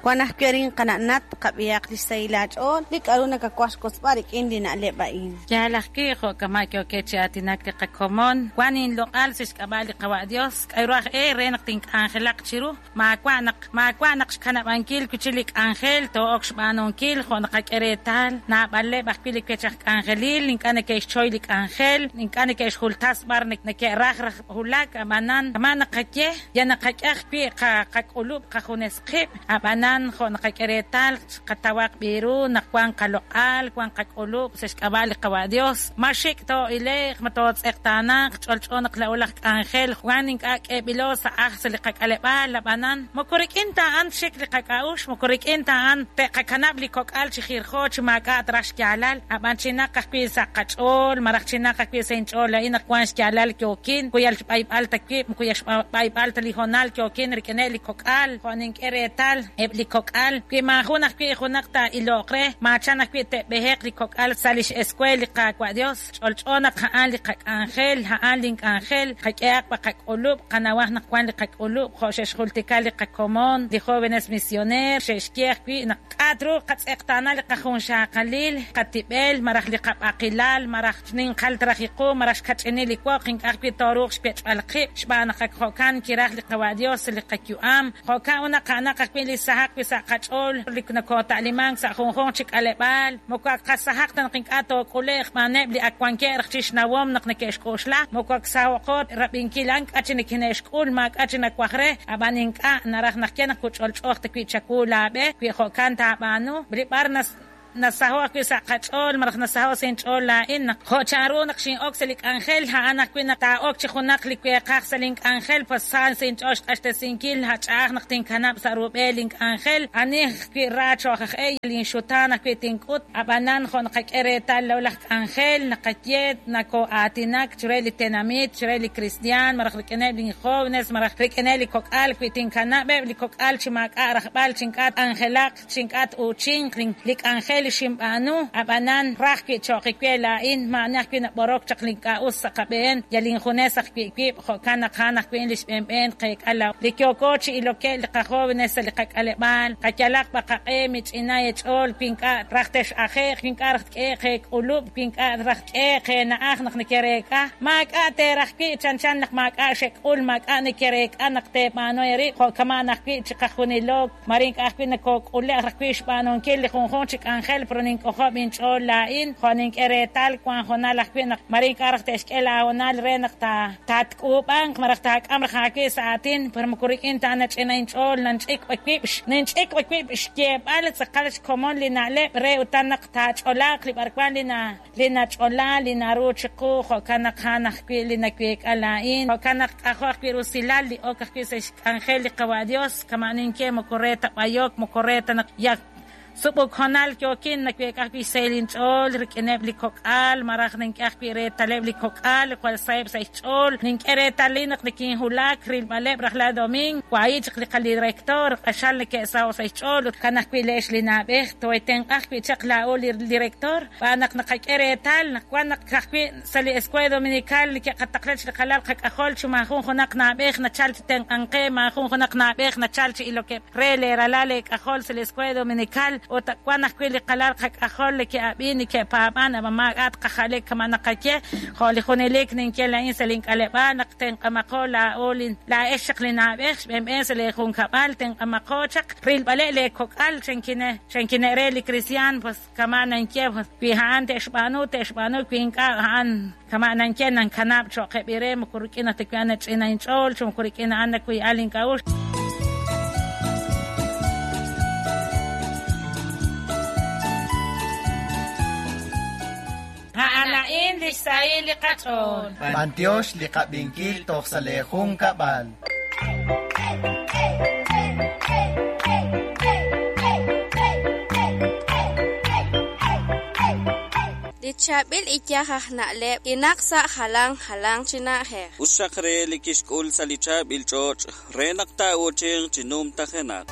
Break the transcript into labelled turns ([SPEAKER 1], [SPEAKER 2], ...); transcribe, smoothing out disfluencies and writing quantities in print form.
[SPEAKER 1] Wan ajwi' arin qana' Nat, qab'ihaq li xsahil aach'ool, li k'aru nakawaj xwotzb'al rik'in li na'leb' a'in.
[SPEAKER 2] Yaal ajwi', jo' kama' yookeb' chi aatinak li qakomon, wank inloq'al sa' xk'ab'a' li Qawa' Yos, k'aru aj e re naq tink'anjelaq chiru? Maawa' naq maawa' naq xkanab'ankil wi' chik li k'anjel too'ok xb'aanunkil jo' naqak'e reetal. Naab'aleb' ajwi' li wech aj k'anjelil ink'a' neke'xchoy li k'anjel, ink'a' neke'xjultas b'ar neke'raj raj wulak, ab'anan kama' naqaye, yal naqak'e ajwi' qak'ulub' qajunes qib', ab'anan jo' naqak'e reetal qatawaq b'i ru naq wank qaloq'al, wank qak'ulub' sa' xk'ab'a' li Qawa' Yos. Ma xik' too'ile'q, ma tootz'eqtaanaq, ch'olch'o naq laa'o laj k'anjel wan ink'a' k'eeb'ilo sa' ajl sa' li qak'aleb'aal, ab'anan moko rik'in ta a'an txik li qak'a'uxl, moko rik'in ta a'an te'qakanab' li kok'al chi jirjo chi maak'a' traj xyaalal, ab'an chinaq ajwi' sa' qach'ool malaj chinaq ajwi' sa' inch'ool laa'in naq wank xyaalal yookin, moko yal xb'ayb'al ta wib', moko yal xb'ayb'al ta li hoonal yookin rik'ineb' li kok'al, jo' nink'e reetal eb' li kok'al, wi maajun ajwi' junaq taa'iloq re, maachan ajwi' te'b'eheq li kok'al sa' li x'eskweel li Qaawa' Yos. Ch'olch'o naq a'an li qak'anjel, a'an link'anjel, qak'ehaq b'a qak'ulub', qanawaq naq wank li qak'ulub', jo' xe'xjultika li qakomon, li jóvenes misioneer, xe'xye ajwi' naq k'a' truuq qatz'eqtaana li qajunxaqalil, qatib'el, malaj li qab'aqilal, malaj xninqal traj iqu, malaj xkach'inil li woq, ink'a' ajwi' tooruuq xwech'b'al qib', xb'aan naq ak jo'kan kiraj li Qawa' Yos sa' li qayu'am. Jo'kan ut naq a'anaq ajwi' li sahaq wi' sa' qach'ool li nokoota'limank sa' junjunq chi k'aleb'aal, moko ak qasahaq ta naq ink'a' took'ule'q xb'aaneb' li ak wankeb' raj chi xnawom naq neke'xk'oxla, moko ak saho'qo rab'inkil a'an k'a' chi nikine'xk'ul, maak'a' chi nawaj re, ab'an ink'a' naraj naq ye naq kuch'olch'ooq ta wi' chawu laab'e, wi jo'kan taab'aanu, li b'ar Nasaho' ajwi' sa' qach'ool malaj nasaho' sa' inch'ool laa'in naq jo' chanru naq xin'ok sa' li k'anjel, a'an ajwi' naq taa'ok chi junaq li weeqaj sa' link'anjel, pues sa sa' inch'ool xq'axtesinkil, a' ch'a'aj naq tinkanab' sa' rub'el link'anjel, ani ajwi' ra cho'q aj e, linxutaan ajwi' tink'ut. Ab'anan jo' naqak'e reetal laa'o laj k'anjel, naqaye, nakoo'aatinak chire li tenamit, chire li kristiaan, malaj rik'ineb' lin jóvenes, malaj rik'ineb' li kok'al, wi tinkanab'eb' li kok'al chi maak'a' rajb'al, chi ink'a' k'anjelaq, chi ink'a' t-uuchinq li k'anjel li xinb'aanu, ab'anan ra ajwi' cho'q we laa'in, maa'ani ajwi' nab'orok chaq li ink'a' us sa' qab'een, yal injunes ajwi' wib', jo'kan naq a'an ajwi' li xb'een b'een tqeek'a laa'o li yooko chi ilokeb' li qajóvenes sa' li qak'aleb'aal, qayalaq b'a qaq'e, mich'ina eech'ool wi ink'a' raj tex'aje'q, wi ink'a' raj tk'ehe'q eek'ulub', wi ink'a' raj tk'ehe'q eena'aj naq nekereek'a, maak'a' teeraj wi' chanchan naq maak'a' xek'ul, maak'a' nekereek'a naq teeb'aanu eerib' jo' kama'an ajwi' chiqajunilo. Mare ink'a' ajwi' nokook'ule' raj wi' xb'aanunkil li junjunq chi k'anjel, pero nink'ojob' inch'ool laa'in, jo' nink'e reetal wank hoonal ajwi' naq mare ink'a' raj te'xk'e laahoonal re naq tatk'uub'anq malaj taak'am raj aawib' sa' aatin, pero moko rik'in ta nach'ina inch'ool nanch'ik b'a wib' ninch'ik b'a wib' xyeeb'al tz'aqal xkomon li na'leb' re utan naq taach'olaaq li b'arwan li na li nach'ola li naru chiqu, jo'kan naq a'an ajwi' li naweek'a laa'in. Jo'kan naq k'ajo' ajwi' rusilal li ok ajwi' sa' xk'anjel li Qawa' Dios, kama' ninye moko re ta b'ayok, moko re ta naq yal sub'uk hoonal yookin, naweek'a ajwi' xsahil inch'ool rik'ineb' li kok'al, malaj nink'e ajwi' reetaleb' li kok'al li jwal saheb' sa' xch'ool, nink'e reetalil naq nikinhulak rilb'aleb' rajlal domiing, wahi' chaq li qadirector, q'axal neke'saho' sa' xch'ool ut kan ajwi' le'ex li na'b'ej, toohetenq'a ajwi' chaq laa'o li director. Xb'aan naq naqak'e reetal naq wan naq ka'ajwi' sa' li Escuela Dominical neke'qataqla chi qalal qak'ajol chi maajun junaq na'b'ej nachal chi tenq'ank qe, maajun junaq na'b'ej nachal chi ilokeb' re lee ralal eek'ajol sa' li Escuela Dominical, ut wan ajwi' li qalal qak'ajol neke'ab'in, neke'paab'an, ab'an maak'a' tqaja'le kama' naqaye, jo' li junelik ninye laa'in sa' link'aleb'aal naq tenq'amaqo laa'o li laa'ex chaq li na'b'ej xb'een b'een sa' lee junkab'al, tenq'amaqo chaq rilb'aleb' lee kok'al, chankine' re li kristiaan, pues. Kama' nanye, wi a'an te'xb'aanu, te'xb'aanu, wi ink'a', a'an kama' nanye, nankanab' cho'q eb' re, moko rik'in ta wi a'an nach'ina inch'ool, chi moko rik'in a'an nawii'al ink'a'uxl. A'an a'in li xsahil li qach'ool.
[SPEAKER 3] B'antiox li qab'inkil toj sa' lee junkab'al.
[SPEAKER 4] Li chaab'il iyaj aj na'leb' kinaq sa' jalan jalanq chi na'ajej.
[SPEAKER 5] Us xaq re li kixk'ul sa' li chaab'il ch'och' re naq taa'uuchinq chi numtajenaq.